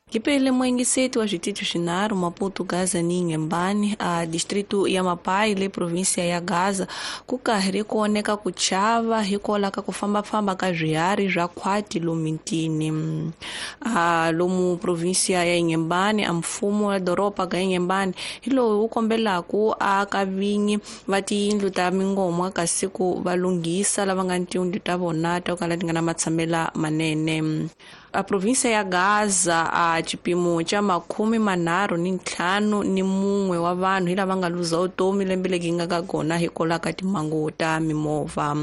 Kipele mwengiseti wa zvititu zvinharhu Maputo, Gaza ni Inhambane, a distrito ya Mapai le província ya Gaza, ku karhi kuoneka ku chava hikwalaho ka ku fambafamba ka swiharhi swa khwati lomitini. A lomu província ya Inhambane, a mfumo wa doroba ka Inhambane hi lowu wu kombelaka a ka vinyi va tiyindlu ta mingomwa kasi ku va lunghisa lava nga ni tiyindlu ta vona to kala ti nga na matshamela manene. A província ya Gaza a xipimo xa 35 wa vanhu hi lava nga luza vutomi lembe leri nga ka kona hikwalaho ka timhangu ta mimovha.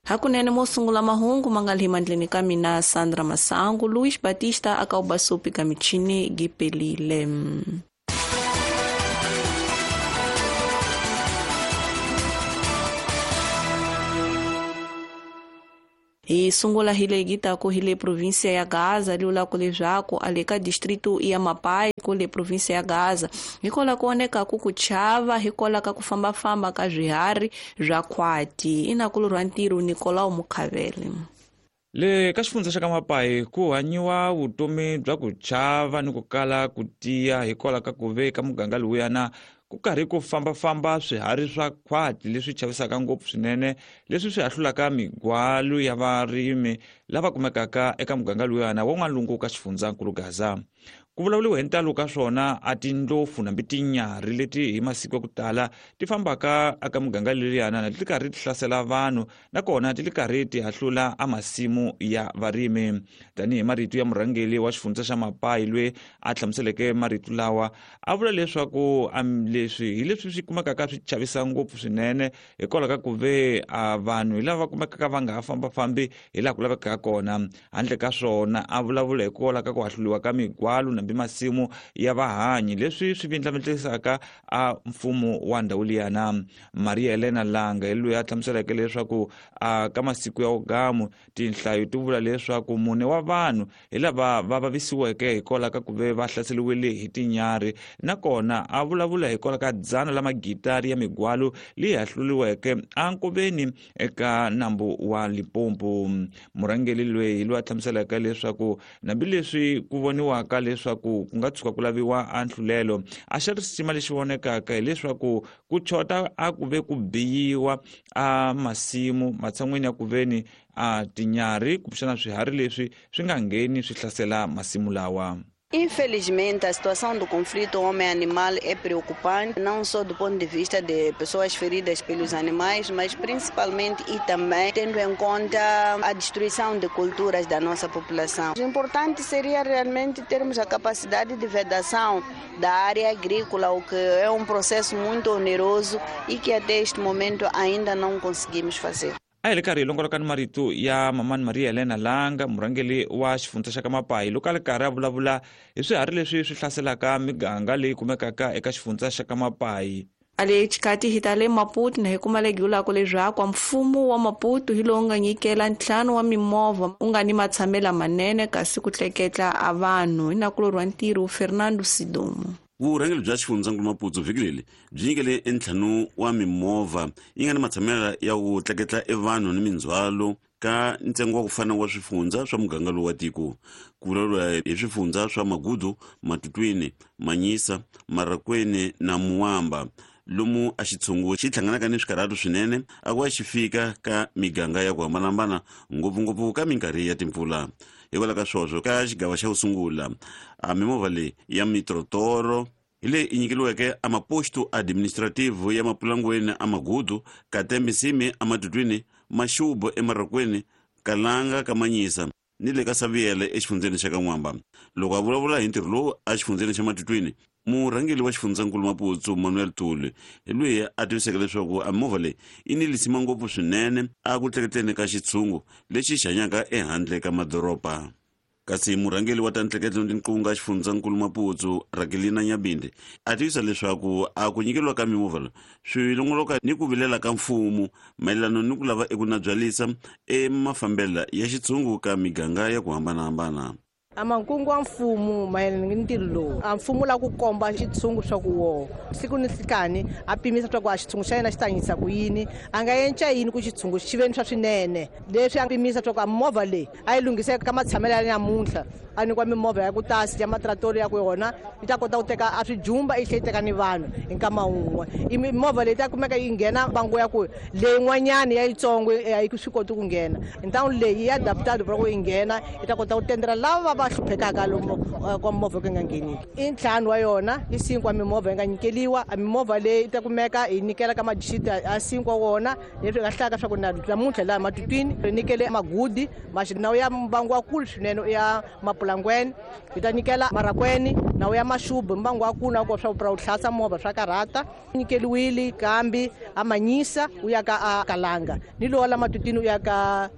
Hakunene mo sungula mahungu ma nga le mandleni ka mina Sandra Masangu, Luis Batista aka ubasupi ka michini gipelile. Hi sungula hi leyi taku hi le província ya Gaza liulaku leswaku a le ka distrito ya Mapai ku le província ya Gaza hikwalaho ku onekaku ku chava hikwalaho ka ku fambafamba ka swiharhi swa khwati. Inakulurwa ntirho Nicolau Mukhavele. Le ka xifundza xa ka Mapai ku hanyiwa vutomi bya ku chava ni ku kala ku tiya hikwalaho ka ku ve ka muganga lowuyana ku karhi ku fambafamba swiharhi swa khwati leswi chavisaka ngopfu swinene, leswi swi hahlulaka migwalu ya varimi lava kumekaka eka muganga lowuyana wa n'walungu ka xifundzankulu Gaza. Ku vulavuriwa hi ntalo ka swona a tindlopfu nambi tinyarhi leti hi masiku ya ku tala ti fambaka eka muganga leliyana na ti karhi ti hlasela vanhu, nakona ti li karhi ti hahlula a masimu ya varimi. Tanihi marito ya murhangeri wa xifundza xa Mapai loyi a hlamuseleke marito lawa, a vula leswaku leswi hi leswi swi kumekaka swi chavisa ngopfu swinene hikwalaho ka ku ve a vanhu hi lava kumekaka va nga ha fambafambi hi laha ku lavekaka kona. Handle ka swona a vulavula hikwalaho ka ku hahluliwa ka migwalu nambi masimu ya vahanyi, leswi swi vindlavindlisaka a mfumo wa ndhawu liyana. Maria Helena Langa hi loyi a hlamuseleke leswaku a ka masiku ya ugamu tinhlayo ti vula leswaku 4 wa vanhu hi lava va vavisiweke hikwalaho ka ku ve va hlaseriwile hi tinyarhi, nakona a vulavula hikwalaho ka 100 la magitari ya migwalu leyi hahluriweke enkoveni eka nambu wa Limpopo. Murhangeri loyi hi loyi a hlamuselaka leswaku hambileswi ku voniwaka leswaku ku nga tshuka ku laviwa a nhlulelo, a xa risima lexi vonekaka hileswaku ku chota a ku ve ku biyiwa a masimu matshan'weni ya ku veni a tinyarhi kumbexana swiharhi leswi swi nga ngheni swi hlasela masimu lawa. Infelizmente, a situação do conflito homem-animal é preocupante, não só do ponto de vista de pessoas feridas pelos animais, mas principalmente e também tendo em conta a destruição de culturas da nossa população. O importante seria realmente termos a capacidade de vedação da área agrícola, o que é um processo muito oneroso e que até este momento ainda não conseguimos fazer. A hi le karhi hi longoloka ni marito ya mamani Maria Helena Langa, murhangeri wa xifundza xa ka Mapai, loko a li karhi a vulavula hi swiharhi leswi swi hlaselaka miganga leyi kumekaka eka xifundza xa ka Mapai. A le xikati hi ta le Maputo na hi kuma legi vulaka leswaku mfumo wa Maputo hi lowu nga nyikela 5 wa mimovha u nga ni matshamela manene kasi ku tleketla a vanhu. Hi nakulorhi wa ntirho Fernando Sidomo. Vurhangeri bya xifundzankulu Maputo vhiki leri byi nyikele 5 wa mimovha yi nga ni matshamela ya ku tleketla evanhu ni mindzhwalo ka ntsengo wa ku fana wa swifundza swa muganga lowu wa tiko. Ku vulavuriwa hi swifundza swa Magudu, Matutwini, Manyisa, Marakweni na Muwamba, lomu a xitshungu xi hlanganaka ni swikarhatu swinene a ku va xi fika ka miganga ya ku hambanahambana, ngopfungopfu ka minkarhi ya timpfula. Hikwalaho ka swoswo, ka xigava xa ku sungula a mimovha leyi ya mitrotoro hi leyi i nyikeliweke a maposto administrative ya Mapulangweni a Magudu, Katembisimi a Matutwini, Maxubo eMarakweni, Kalanga ka Manyisa ni le ka Saviele exifundzeni xa ka N'wamba. Loko a vulavula hi ntirho lowu a xifundzeni xa Matutwini, murhangeri wa xifundzankulu Maputo Manuel Tuli hi loyi a tiviseke leswaku a mimovha leyi yi ni lisima ngopfu swinene a ku tleketleni ka xitshungu lexi xi hanyaka ehandle ka madoroba. Kasi murhangeri wa ta ntleketlo ni tinqunga xifundzankulu Maputo Rakelina Nyabinde a tivisa leswaku a ku nyikeliwa ka mimovha lowu swi longoloka ni ku vilela ka mfumo mayelana ni ku lava eku nabyalisa emafambela ya xitshungu ka miganga ya ku hambanahambana. A makungu wa mfumo mayelana ni ntirho lowu, a mfumo la ku komba xitshungu swa ku woho siku ni nhlikani a pimisa swa ku a xitshungu xa yena xi ta hanyisa ku yini, a nga enca yini ku xitshungu xi ve ni swa swinene. Leswi a pimisa swa ku a movha leyi a yi lunghise ka matshamelo ya namuntlha. a nyikiwa mimovha ya ku tasi ya matratori ya ku yona yi ta kota ku teka a swijumba yi tlhela yi teka ni vanhu hi nkama wun'we. I mimovha leyi ta kumeka yi nghena bango ya ku leyin'wanyana ya yitsongo a yi swi koti ku nghena. Ntangu leyi ya adaptado ku yi nghena yi ta kota ku tendela lava va hluphekaka lomu kwa movha ku nga ngheniki. I ntlhanu wa yona i sinkwa mimovha yi nga nyikeliwa. A mimovha leyi ta kumeka hi nyikela ka madistrito a sinkwa wona leswi nga hlaka swa ku na namuntlha laha Matutwini ri nyikele Magudi nawu ya mbangu wa kulu swinene ya Mapulangweni, hi ta nyikela Marakweni nawu ya Maxubu mbangu wa kulu na ku swa ku hlatsa movha swa karhata. Nyikeliwile kambi a Manyisa u ya ka a Kalanga ni lowa la Matutwini u ya ka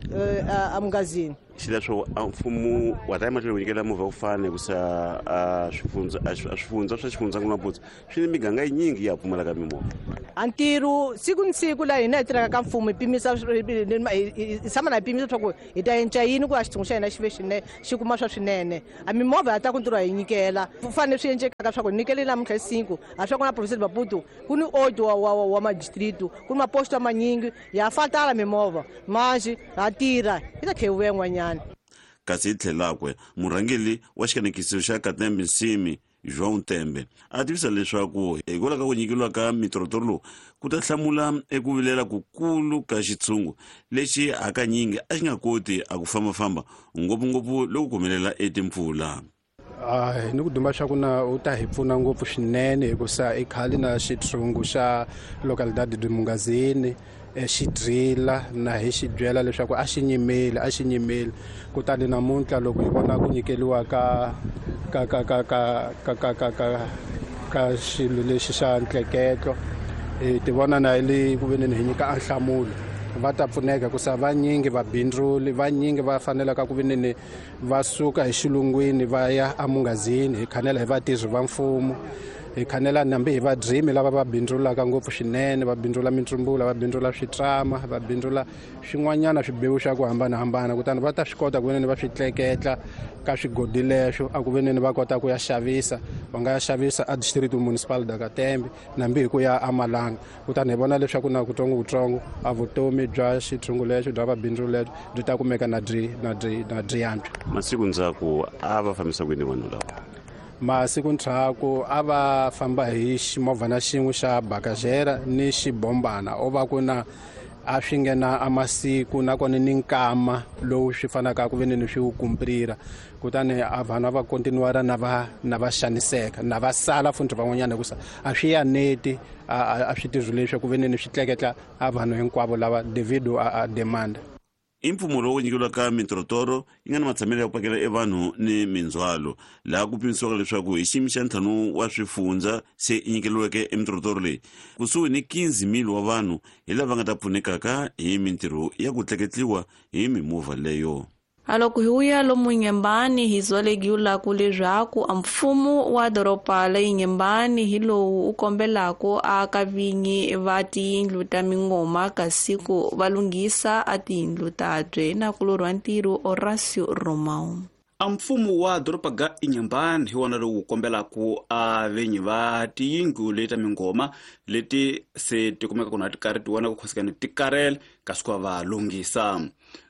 a Mungazini. Xileswo a mfumo wa ta emahlweni ku nyikela movha ku fana hikusa a swifundza swa xifundzankulu Maputo swi ni miganga yinyingi ya pfumalaka mimovha. A ntirho siku ni siku laha hina hi tirhaka ka mfumo hi pimisa hi tshama na hi pimisa swa ku hi ta enca yini ku a xitshungu xa hina xi ve xinene xi kuma swa swinene. A mimovha ya ta ku ntirho hi nyikela ku fanele swi endlekaka swa ku hi nyikele namuntlha cinco a swa ku na province Maputo ku ni oito wa madistrito ku ni maposto manyingi ya fatala mimovha manji ha tirha yi ta tlhela yi vuya yin'wanyana. Kasi hi tlhelakwe murhangeri wa xikanekiso xa Katembe Nsimi João Tembe a tivisa leswaku hikwalaho ka ku nyikeriwa ka mitorotoro lowu ku ta hlamula eku vilela kukulu ka xitshungu lexi hakanyingi a xi nga koti a ku fambafamba ngopfungopfu loko ku humelela etimpfula. Ni ku duma swa ku na u ta hi pfuna ngopfu swinene hikusa i khale na xitshungu xa localidade de Mungazini xi drila na hi xi byela leswaku a xi nyimeli kutani namuntlha loko hi vona ku nyikeliwa ka ka ka ka ka ka ka ka ka ka xilo lexi xa ntleketlo hi ti vona na le ku veneni hi nyika a nhlamulo va ta pfuneka hikusa vanyingi vabindzuli vanyingi va fanelaka ku veneni va suka hi xilungwini va ya eMungazini hi khanela hi vatirhi va mfumo hi khanela nambi hi vadrimi lava va bindzulaka ngopfu swinene va bindzula mitsumbula va bindzula switrama va bindzula swin'wanyana swibewu swa ku hambanahambana kutani va ta swi kota ku veneni va swi tleketla ka swigodi leswo a ku veneni va kota ku ya xavisa va nga ya xavisa a district municipal da Katembe nambi hi ku ya eMalanga kutani hi vona leswaku na kutsongokutsongo a vutomi bya xitshungu lexo bya vabindzu lexo byi ta kumeka na byi yantswa. Masiku ndzhaku a va fambisa kwini vanhu lava? Masiku ndzhaku a va famba hi ximovhana xin'we xa bakajera ni xibombana o va ku na a swi nghena a masiku nakona ni nkama lowu swi fanaka ku veneni swi wu kumprira kutani a vanhu a va kontinuara na va xaniseka na va sala futhi van'wanyana hikusa a swi yaneti a swi tirhi leswi ku veneni swi tleketla a vanhu hinkwavo lava devido a demand. I mpfumo lowu nyikeriwaka mitorotoro yi nga na matshamelo ya ku pakela evanhu ni mindzhwalo laha ku pimisiwaka leswaku hi xiyimo xa 5 wa swifundza se yi nyikeriweke emitorotoro leyi kusuhi ni 15,000 wa vanhu hi lava nga ta pfunekaka hi mintirho ya ku tleketliwa hi mimovha leyo. Aloko hi wuya lomu Inhambane hi zwalegiwulaku leswaku a mfumo wa doroba la Inhambane hi lowu u kombelaka aka vinyi va tiyindlu ta mingoma kasi ku va lunghisa a tiyindlu tabye na kulorwa ntirho Horacio Romão. A mfumo wa doroba ga Inhambane hi wona lowu kombelaka a vinyi va tiyindlu leti ta mingoma leti se ti kumeka na ti karhi ti vona ku khosikana ti karele kasi ku va lunghisa.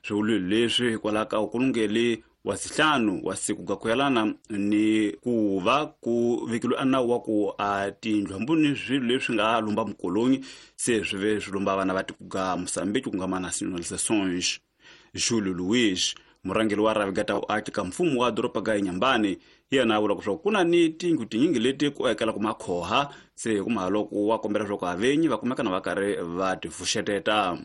Swivulwa leswi hikwalaho ka ku lungele wa sihlanu wa siku ga ku yelana ni ku va ku vekeliwe a nawu wa ku a tiyindlu hambi ni swilo leswi nga lumba mukolonyi se swi ve swi lumba vana va tiko ga Mozambique ku nga ma nationalisations. Júlio Luiz murhangeri wa rhavi ga ta vuaki ka mfumo wa doroba ga Inhambane yena a vula leswaku ku na ni tiyindlu tinyingi leti ku ekelaka makhoha se hi ku mhaloko wa kombela leswaku avenyi va kumeka na va karhi va ti pfuxeteta.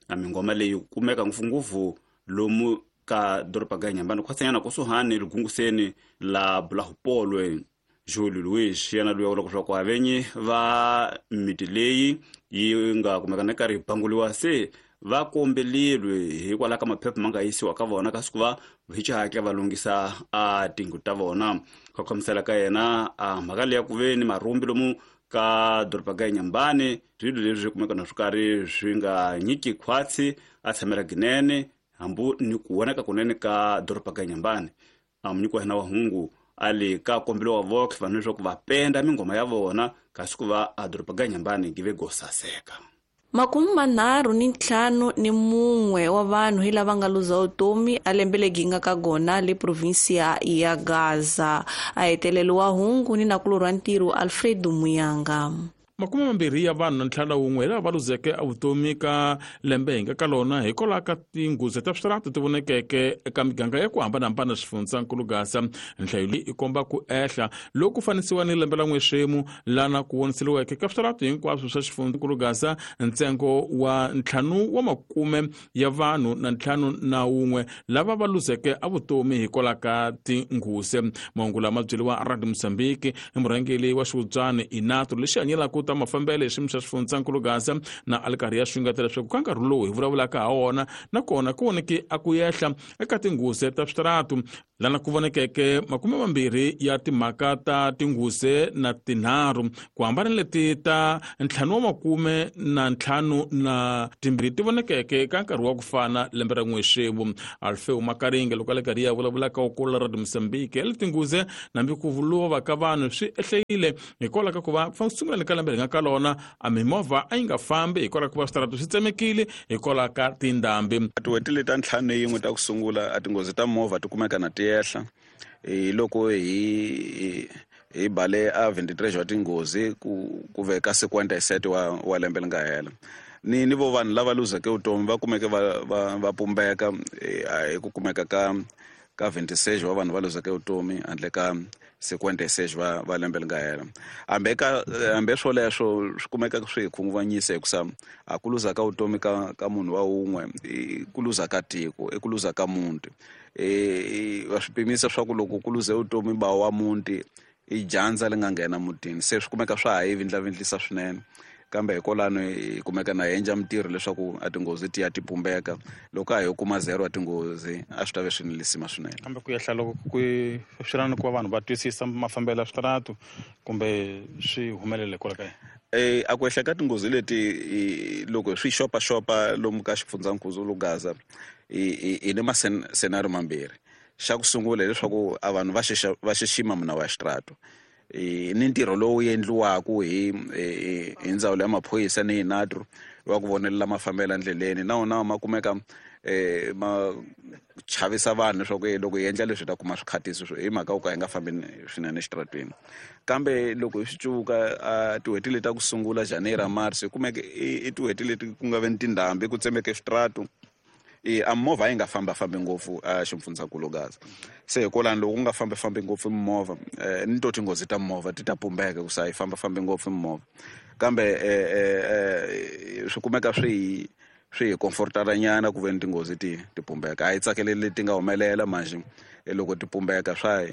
A mingoma leyi kumeka ngopfungopfu lomu ka doroba ga Inhambane khwatsanyana kusuhani ligunguseni la Bulahupolwe. Júlio Luiz yena loyi a vulaka leswaku avenyi va miti leyi yi nga kumeka na karhi yi banguliwa se va kombelilwe hikwalaho ka maphepha ma nga yisiwa ka vona kasi ku va hi xihatla va lunghisa a tindlu ta vona. Ku khamisela ka yena a mhaka leyi ya ku ve ni marhumbi lomu ka doroba ga Inhambane swilo leswi kumeka na swi karhi swi nga nyiki khwatsi a tshamela ginene hambi ni ku vonaka kunene ka doroba ga Inhambane. A munyiki wa hina wa hungu a le ka kombelo wa vox vanhu leswaku va penda mingoma ya vona kasi ku va a doroba ga Inhambane give go saseka. 31 wa vanhu hi lava nga luza vutomi a lembe legi nga ka gona le provinsia ya Gaza. A heteleliwa hungu ni nakulorwa ntirho Alfredo Muyanga. 21 ya vanhu na 51 lava va luzeke evutomi ka lembe hi nga ka lona hikwalaho ka tinghozi ta switarata ti vonekeke eka miganga ya ku hambanahambana xifundzankulu Gaza. Nhlayo leyi i komba ku ehla loku fanisiwa ni lembe la n'wexemu lana ku voniseriweke ka switarata hinkwaswo swa xifundzankulu Gaza ntsengo wa 50 ya vanhu na 51 lava va luzeke evutomi hikwalaho ka tinghozi. Mahungu lama byeriwa Radio Mozambique hi murhangeri wa xihubyani Inato lexi hanyelaka ta mafambelo hi xiyimo xa xifundzankulu Gaza na alikarhi ya xungeta leswaku ka nkarhi lowu hi vulavulaka ha wona nakona ku voneke a ku ehla eka tinghozi ta switaratu lana ku vonekeke 20 ya timhaka ta tinghozi na 3 ku hambana leti ta 552 ti vonekeke ka nkarhi wa ku fana lembe ra n'wexemu. Alfeo Makaringe loko a le karhi ya vulavulaka ku kula Radio Mozambique le tinghozi nambi ku lova ka vanhu swi ehlekile hikwalaho ka ku va sungula ka lembe ri nga ka lona a mimovha a yi nga fambi hikwalaho ka ku va switarata swi tsemekile hikwalaho ka tindhambi. Tin'hweti leti ta 51 ta ku sungula a tinghozi ta movha ti kumeka na ti ehla hi loko hi bale a 23 wa tinghozi ku veka 57 wa lembe leri nga hela. Ni vo vanhu lava luzeke vutomi va kumeke va pumbeka hi ku kumeka ka 26 wa vanhu va luzeke vutomi handle ka 56 va lembe leri nga hela. Hambi swoleswo swi kumeka swi hi khunguvanyisa hikusa a ku luza ka vutomi ka munhu wa wun'we i ku luza ka tiko, i ku luza ka muti. Va swi pimisa swa ku loko ku luze vutomi ba wa muti i dyandza leri nga nghena mutini, se swi kumeka swa ha hi vindlavindlisa swinene. Kambe hikwalano hi kumeka na hi endla mintirho leswaku a tinghozi ti ya ti pumbeka. Loko a hi kuma 0 a tinghozi a swi ta ve swi ni lisima swinene. Kambe ku ehla loko ku swi na ku va vanhu va twisisa mafambelo ya switaratu kumbe swi humelele hikwalaho ka yini? A ku ehla ka tinghozi leti loko swi xopaxopa lomu ka xifundzankulu Gaza hi ni masenario mambirhi. Xa ku sungula hileswaku a vanhu va xixima minawu ya xitaratu ni ntirho lowu endliwaka hi ndzawulo ya maphorisa ni Inatro wa ku vonelela mafambelo endleleni na wona ma kumeka ma chavisa vanhu leswaku loko hi endla leswi hi ta kuma swikhatisi hi mhaka yo ka hi nga fambi swinene exitarateni. Kambe loko hi swi cuka tin'hweti leti ta ku sungula January March hi kumeke i tin'hweti leti ku nga ve ni tindhambi ku tsemeke switaratu a movha yi nga fambafambi ngopfu a xifundzankulu Gaza. Se hikwalano loko ku nga fambafambi ngopfu mimovha ni to tinghozi ta movha ti ta pumbeka ku sa yi fambafambi ngopfu mimovha. Kambe swi kumeka swi hi comfortala nyana ku ve ni tinghozi ti pumbeka. A hi tsakeleli leti nga humelela manjhe loko ti pumbeka swa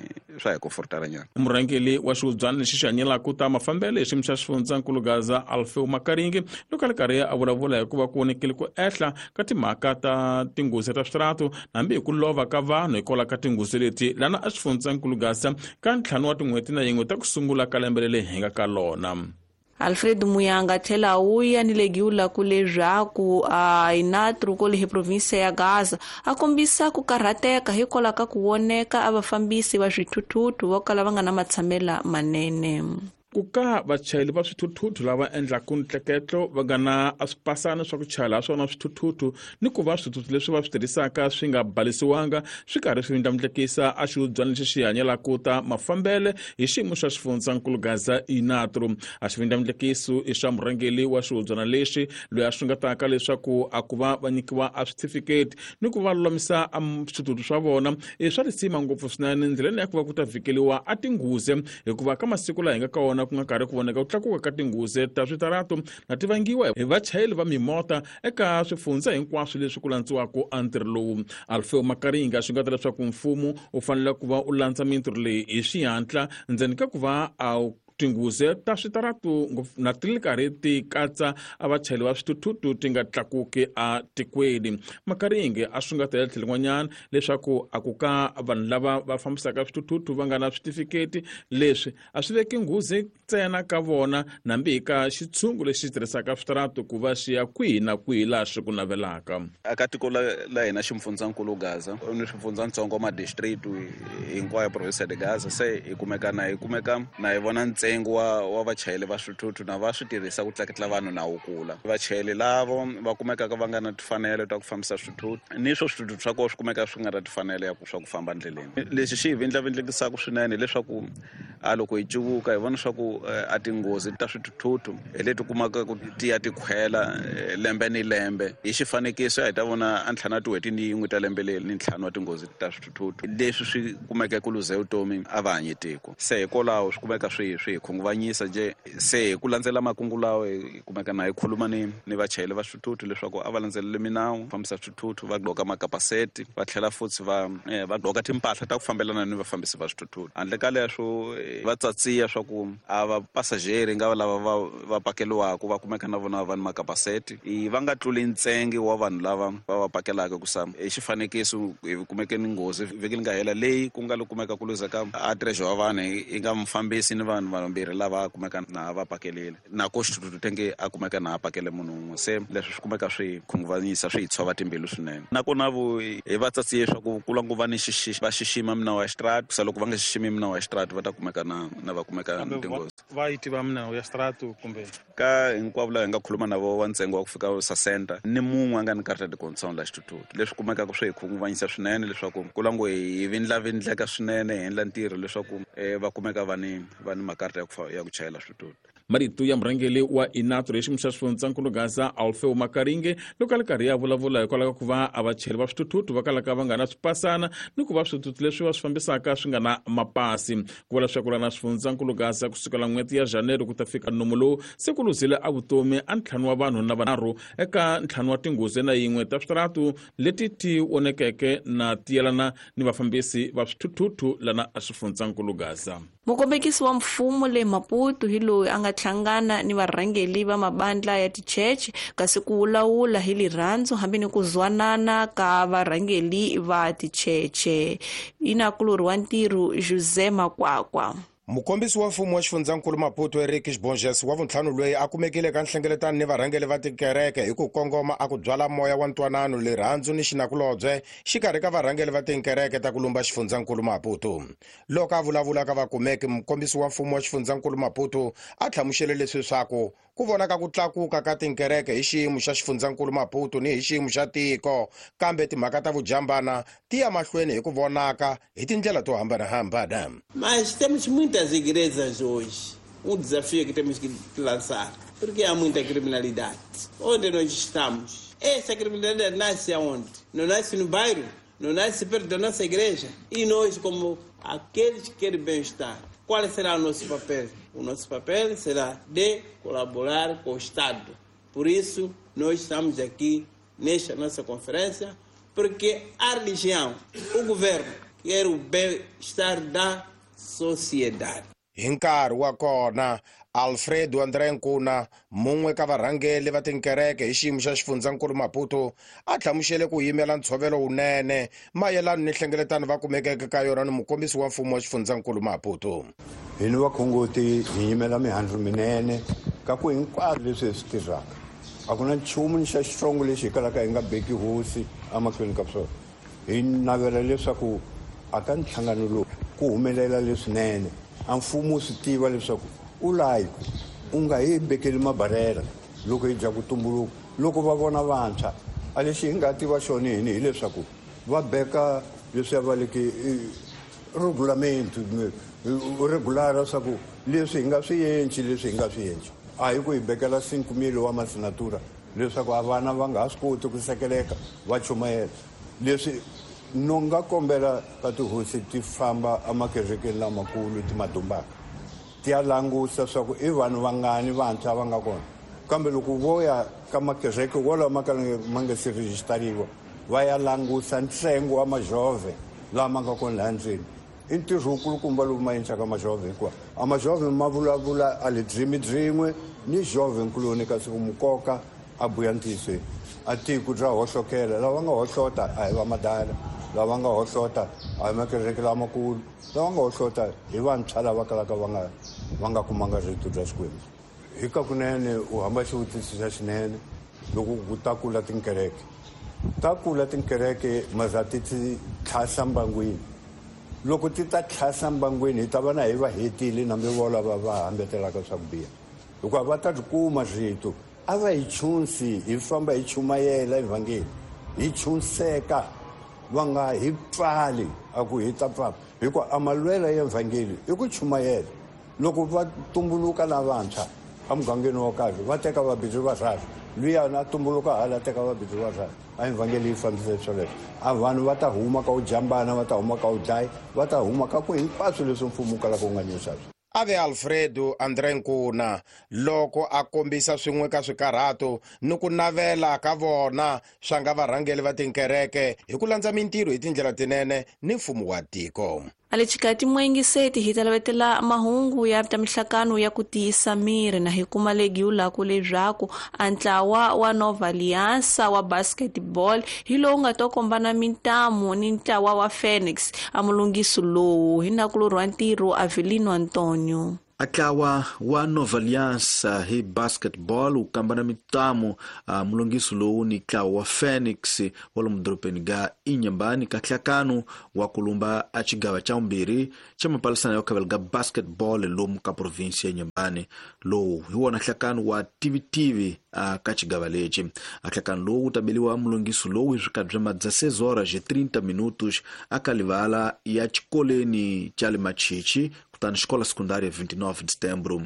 hi comfortala nyana. Murhangeri wa xihubyana lexi xi hanyelaka ta mafambelo hi xiyimo xa xifundzankulu Gaza Alfeo Makaringe loko a ri karhi a vulavula hikuva ku vonekile ku ehla ka timhaka ta tinghozi ta switaratu hambi hi ku lova ka vanhu hikwalaho ka tinghozi leti lana a xifundzankulu Gaza ka 5 wa tin'hweti na 1 ta ku sungula ka lembe leri hi nga ka lona. Alfredo Muyanga tlhela wuya ni legiula ku leswaku Inatro kole hi provinsia ya Gaza a kombisa ku karhateka hikwalaho ka ku voneka a vafambisi va swithuthuthu vo kala va nga na matshamela manene. Ku ka vachayeri va swithuthuthu lava endlaka ntleketlo va nga na swipasana swa ku chayela swona swithuthuthu ni ku va swithuthuthu leswi va swi tirhisaka swi nga balisiwanga swi karhi swi ndlandlamukisa a xihubyana lexi xi hanyelaka ta mafambele hi xiyimo xa xifundzankulu Gaza Inatro. A xivindlamundlekiso i xa murhangeri wa xihubyana lexi loyi a xungetaka leswaku a ku va va nyikiwa a switifiketi ni ku va lulamisa a swithuthuthu swa vona i swa risima ngopfu swinene ndleleni ya ku va ku ta vhikeliwa a tinghozi hikuva ka masiku laha hi nga ka wona ku nga karhi ku voneka ku tlakuka ka tinghozi ta switaratu na ti vangiwa hi vachayeri va mimota eka swifundza hinkwaswo leswi ku landziwaka a ntirho lowu. Alfeo Makaringa swi nga ta leswaku mfumo wu fanele ku va u landza mintirho leyi hi xihatla ndzeni ka ku va a tinghozi ta switaratu na ti ri karhi ti katsa a vachayeri va swithuthuthu ti nga tlakuki a tikweni. Makaringe a swi nga ta tlhelo rin'wanyana leswaku a ku ka vanhu lava va fambisaka swithuthuthu va nga na switifiketi leswi a swi veki nghozi ntsena ka vona nambi hi ka xitshungu lexi tirhisaka switaratu ku va xi ya kwihi na kwihi laha swi ku navelaka. Aka tiko la hina xifundzankulu Gaza ni swifundzatsongo ma district hinkwayo province de Gaza se hi kumeka na hi vona ntsena Ntsengo wa vachayeri va swithuthuthu na va swi tirhisa ku tleketla vanhu na wu kula. Vachayeri lavo va kumekaka va nga na timfanelo ta ku fambisa swithuthuthu ni swo swithuthuthu swa kona swi kumeka swi nga na timfanelo ya swa ku famba ndleleni. Lexi xi hi vindlavindlekisaka swinene hileswaku a loko hi cuvuka hi vona swa ku a tinghozi ta swithuthuthu hi leti kumaka ku ti ya ti khwela lembe ni lembe. Hi xifanekiso hi ta vona a ntlhanu wa tin'hweti ni yin'we ta lembe leri ni ntlhanu wa tinghozi ta swithuthuthu leswi swi kumeke ku luze vutomi a va hanyi tiko. Se hikwalaho swi kumeka swi hi khunguvanyisa nje. Se hi ku landzela makungu lawa hi kumeka na hi khuluma ni vachayeri va swithuthuthu leswaku a va landzeleli minawu fambisa swithuthuthu, va gqoka makapaseti, va tlhela futhi va gqoka timpahla ta ku fambelana ni vafambisi va swithuthuthu. Handle ka leswo va tsatsiya swa ku a va pasajeri nga lava va pakeliwaka va kumeka na vona va ni makapaseti, va nga tluli ntsengo wa vanhu lava va pakelaka ku sa. Hi xifanekiso hi kumeke ni nghozi vhiki li nga hela leyi ku nga lo kumeka ku luzeka a treasure wa vanhu yi nga mufambisi ni vanhu vambirhi lava kumeka na va pakelile na ko xithuthuthu tenge a kumeka na a pakele munhu un'we. Se leswi swi kumeka swi khunguvanyisa, swi hi tshova timbilu swinene. Nakona vo hi va tsatsiye swa ku kula ngo va ni va xixima minawu ya xitrati, sa loko va nga xiximi minawu ya xitrati va ta kumeka na va kumeka tinghozi. Va yi tiva minawu ya xitrati kumbe ka hinkwavo lava hi nga khuluma na vo wa ntsengo wa ku fika sa center ni mun'we a nga ni karata de condition la xithuthuthu. Leswi kumekaka swi hi khunguvanyisa swinene leswaku ku la ngo hi vindlavindleka swinene hi endla ntirho leswaku va kumeka va ni makarata ya ku chayela swithuthuthu. Marito ya murhangeri wa INATRO hi xiyimo xa xifundzankulu Gaza Alfeo Makaringe loko a ri karhi ya vulavula hikwalaho ka ku va a vachayeri va swithuthuthu va kalaka va nga na swipasana ni ku va swithuthuthu leswi va swi fambisaka swi nga na mapasi. Ku vula leswaku lana xifundzankulu Gaza ku sukela n'hweti ya January ku ta fika nomu lowu se ku luzile a vutomi a ntlhanu wa vanhu na vanharhu eka ntlhanu wa tinghozi na yin'we ta switaratu leti ti onekeke na tiyelana ni vafambisi va swithuthuthu lana xifundzankulu Gaza. Mukombekisi wa mfumo le Maputo hi loyi a nga hlangana ni varhangeri va mabandla ya ticheche kasi ku wulawula hi lirhandzu hambi ni ku zwanana ka varhangeri va ticheche. Inakulori wa ntirho Jose Makwakwa. Mukombisi wa mfumo wa xifundzankulu Maputo Eric Bonges wa vuntlhanu loyi a kumekile ka nhlengeletano ni varhangeri va tikereke hi ku kongoma a ku byala moya wa ntwanano, lirhandzu ni xinakulobye xikarhi ka varhangeri va tikereke ta ku lumba xifundzankulu Maputo. Loko a vulavula ka vakumeki, mukombisi wa mfumo wa xifundzankulu Maputo a hlamusele leswi swaku ku vonaka ku tlakuka ka tinkereke hi xiyimo xa xifundzankulu Maputo ni hi xiyimo xa tiko, kambe timhaka ta vujambana ti ya mahlweni hi ku vonaka hi tindlela to hambanahambana. Mas temos muitas igrejas hoje. Desafio que temos que lançar, porque há muita criminalidade. Onde nós estamos? Essa criminalidade nasce aonde? Não nasce no bairro, não nasce perto da nossa igreja. E nós, como aqueles que querem bem-estar, qual será o nosso papel? O nosso papel será de colaborar com o Estado. Por isso, nós estamos aqui nesta nossa conferência, porque a religião, o governo, quer o bem-estar da sociedade. Hi nkarhi wa kona, Alfredo André Nkuna, mun'we ka varhangeri va tinkereke hi xiyimo xa xifundzankulu Maputo, a hlamusele ku yimela ntshovelo wunene mayelana ni nhlengeletano va kumekeke ka yona ni mukombisi wa mfumo wa xifundzankulu Maputo. Hi ni vakhongoti hi yimela mihandzu minene ka ku hinkwaswo leswi hi swi tirhaka. A ku na nchumu ni xa xitsongo lexi hi kalaka hi nga beki hosi emahlweni ka swona. Hi navela leswaku a ka nhlangano lowu ku humelela leswinene. A mfumo wu swi tiva leswaku u layi u nga hi bekeli mabarela loko hi dya ku tumbuluka. Loko va vona vantshwa a lexi hi nga tiva xona hini hileswaku va beka leswiya va leke regulamento regular swa ku leswi hi nga swi endli, leswi hi nga swi endli. A hi ku hi bekela 5,000 wa masinatura leswaku a vana va nga ha swi koti ku sekeleka va chumayela. Leswi no nga kombela ka tihosi ti famba emakerekeni lamakulu ti madumbaka ti ya langusa swa ku i vanhu vangani vantshwa va nga kona. Kambe loko vo ya ka makereke wolawo ma ka ma nga se rejistariwa va ya langusa ntsengo wa majove lama nga kona laha ndzeni. I ntirho wukulukumba lowu ma endlaka majove, hikuva a majove ma vulavula a le dzimi byin'we ni jove nkuloni, kasi ku mukoka a buya ntiyisweni. A tiko bya hohlokela, lava nga hohlota a hi va madala, lava nga hohlota a hi makereke lamakulu, lava nga hohlota hi vantshwa lava kalaka va nga kumanga rito bya Xikwembu. Hi ka kunene u hamba xivutiso xa xinene loko ku ta kula tinkereke. Ta kula tinkereke maza ti tlhasa mbangwini. Loko ti ta tlhasa mbangwini hi ta va na hi va hetile nambe vo lava va hambetelaka swa ku biha, hikuva va ta tikuma rito. A va hi chunsi, hi famba hi chumayela evhangeli, hi chunseka, va nga hi pfali a ku hi ta pfala, hikuva a malwela ya evhangeli i ku chumayela. Loko va tumbuluka lavantshwa emugangeni wo karhi, va teka vabindzu va rhasa, luyani a tumbuluka hala teka vabindzu va rhasa, a evhangeli yi fambisa swoleswo. A vanhu va ta huma ka u jambana, va ta huma ka u dlaya, va ta huma ka ku hinkwaswo leswi mfumo wu kalaka wu nga nyisa swona. Ave Alfredo André Nkuna loko a kombisa swin'we ka swikarhato ni ku navela ka vona swa nga varhangeli va tinkereke hi ku landza mintirho hi tindlela tinene ni mfumo wa tiko. Alechikati mwengiseti hi talavetela mahungu ya ta mihlakano ya ku tiyisa miri na hi kuma legiulaku leswaku a ntlawa wa Nova Aliança wa basketball hi lowu nga to kombana mintamu ni ntlawa wa Phoenix a mulungisi lowu hi nakulorhi wa ntirho Avelino Antonio. Atlawa wa Nova Aliança hi basketball wu kambana mintamu mulungisi lowu ni ntlawa wa Phoenix wa lomu dorobeni ga Inhambane ka nhlakano wa kulumba a xigava xa vumbirhi xa mapalisana ya khavela ga basketball lomu ka provinsi ya Inhambane. Lowu hi wona nhlakano wa tivitivi ka xigava lexi. A nhlakano lowu wu ta beliwa mulungisi lowu hi swikati swa ma 16 horas e 30 minutos aka livala ya xikoleni xa le Machichi, kutani xikola sekundária 29 de setembro.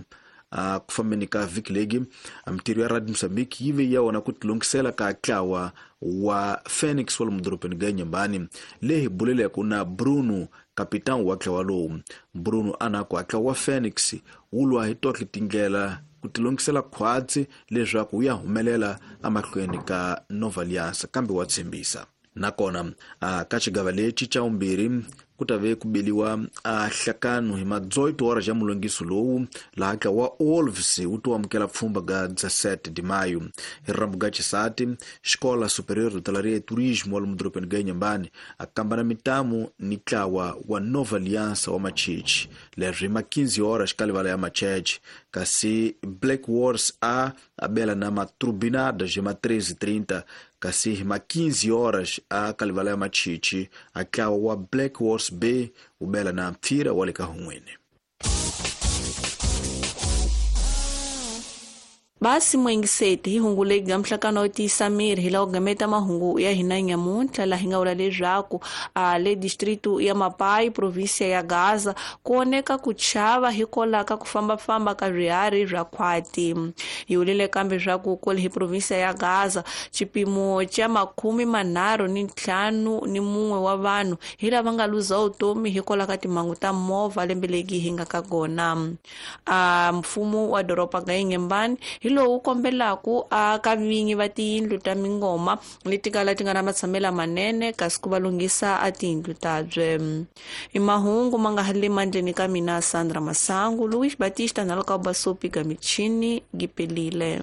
Ku fambeni ka vhiki legi, mintirho ya Radio Mozambique yi ve ya wona ku tilungisela ka ntlawa wa Phoenix wa lomu dorobeni ga Inhambane, leyi hi buleleke na Bruno, kapitan wa ntlawa lowu. Bruno a na ku ntlawa wa Phoenix wu lwa hi tohle tindlela ku tilungisela khwatsi leswaku wu ya humelela emahlweni ka Nova Aliança, kambe wa tshembisa. Nakona ka xigava lexi xa vumbirhi ku ta ve ku beliwa a hlakano hi ma 18 horas ya mulungiso lowu, laha ntlawa wa Wolves wu to amukela pfhumba ga 17 de maio. Hi rambu ga xisati, Xikola Superior de Hotelaria e Turismo wa lomu dorobeni ga Inhambane a kambana mintamu ni ntlawa wa Nova Aliança wa Machichi, leswi hi ma 15 horas ka livala ya Macheche, kasi Black Wars a abela na Matrubinadas hi ma 13:30, kasi hi ma 15 horas a ka livala ya Machichi a ntlawa wa Black Wars B wu bela na mpfira wa le ka hun'wini. Basi mwengiseti hi hungu legi ga mhlakano wo tiyisa miri hi laha ku gameta mahungu ya hina nyamuntlha, laha hi nga vula leswaku le distritu ya Mapai, provinsia ya Gaza, ku oneka ku chava hikwalaho ka ku fambafamba ka swiharhi swa khwati. Hi vulile kambe swa ku kwale hi provinsia ya Gaza xipimo xa 31 wa vanhu hi lava nga luza vutomi hikwalaho ka timhangu ta movha lembe legi hi nga ka kona. Mfumo wa doroba ga Inhambane hi lowu kombelaku a ka vinyi va tiyindlu ta mingoma leti kala ti nga na matshamelo manene, kasi ku va lunghisa a tiyindlu tabye. I mahungu ma nga ha le mandleni ka mina Sandra Masangu, Luis Batista na Luka Basopi ga michini gipelile.